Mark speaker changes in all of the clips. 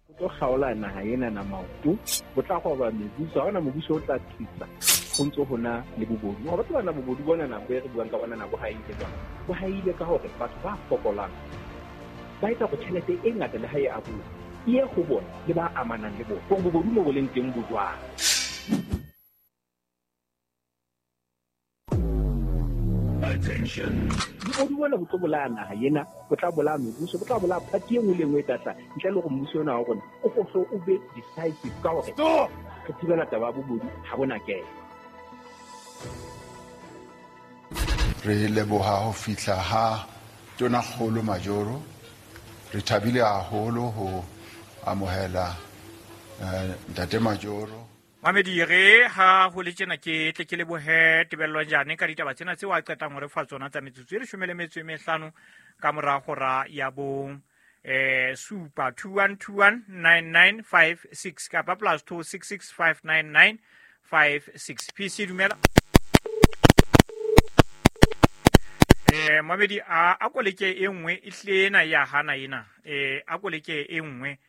Speaker 1: O tlo kgaola naha ena na maoto, bo tla roba mebuso, ha hona mobuso o tla tlisa ho ntso hona le bobodu. Wa batho bana bobodu bona na bo e re buang ka bona na bo haile jwang? Bo haile ka hore batho ba fokolang ba etsa hore tjhelete e ngata le ha e abuwa e ye ho bona le ba amanang le bona. Hore bobodu mo bo leng teng bo jwang.
Speaker 2: Attention.
Speaker 1: Bobodu bona bo tlo bolaya naha ena, bo tla bolaya mebuso, bo tla bolaya party e nngwe le e nngwe e tla tla ntle le hore mmuso ona wa rona o hlo o be decisive ka hore re thibela taba ya bobodu ha bona kena.
Speaker 3: Re leboha ho fihla ha Tonakgolo Majoro. Re thabile haholo ho amohela Ntate Majoro.
Speaker 4: Mamedi re ha ho le tjena ke tle ke lebohe Tebello Njane ka ditaba tsena tseo a qetang ho re fa tsona tsa metsotso e 15 ka mora hora ya bo supa 21219956 kapa plus 26659956. PC dumela. Mamedi a koleke e nngwe e hlile ena ya hana ena. A koleke e nngwe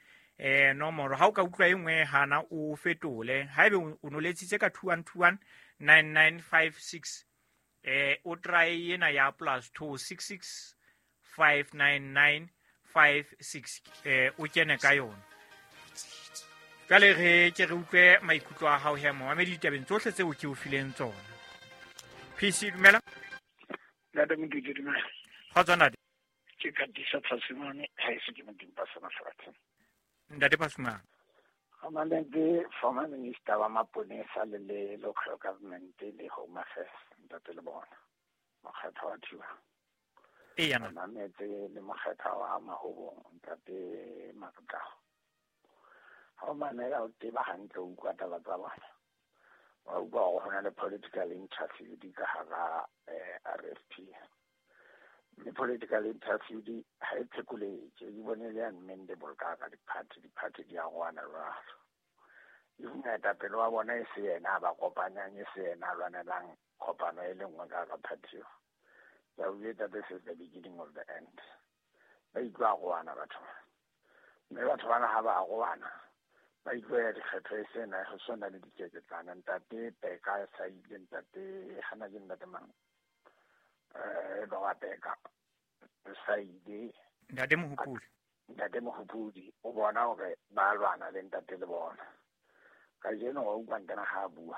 Speaker 4: nomoro ha o ka utlwa e nngwe hana o fetole. Haebe o no letsitse ka 21219956 o try ena ya plus 26659956 o kene ka yona. Jwale re ke re utlwe maikutlo a hao he momamedi ditabeng tsohle tseo ke o fileng tsona. PC dumela.
Speaker 5: Ntate Modudi dumela.
Speaker 4: Kgotso ntate.
Speaker 5: Ke Katisa Phasimane, ha e se ke Modimo ba sena lefatsheng.
Speaker 4: Ntate Phasimane.
Speaker 5: Go mametse former minister wa maponesa le le local government le Home Affairs, ntate le bona. Mokgatho wa Thiba.
Speaker 4: Ee, yana.
Speaker 5: Re mametse le mokgatho wa Mahobong, ntate Makgao. Ha o mamela o tseba hantle o utlwa taba tsa bona. Wa utlwa hore ho na le political interview di ka hara RFP. Mme political interview di ha e phekoletse, e bone le unmendable ka hara di-party, di-party di arohana jwalo. If moetapele wa bona e se yena a ba kopanyang, e se yena a lwanelang kopano e le nngwe ka hara party eo. Ke a utlwa this is the beginning of the end. Ba itlo arohana batho ba. Mme batho bana ha ba arohana, ba itlo ya dikgetho e sena, ho sona le dikeketsana. Ntate Peka e sa ile, ntate hana ke ntate mang? Ba wa Peka sa ile.
Speaker 4: Ntate Mohopodi.
Speaker 5: Ntate Mohopodi o bona hore ba lwana le ntate le bona. Kajeno wa utlwa ntena ha a bua.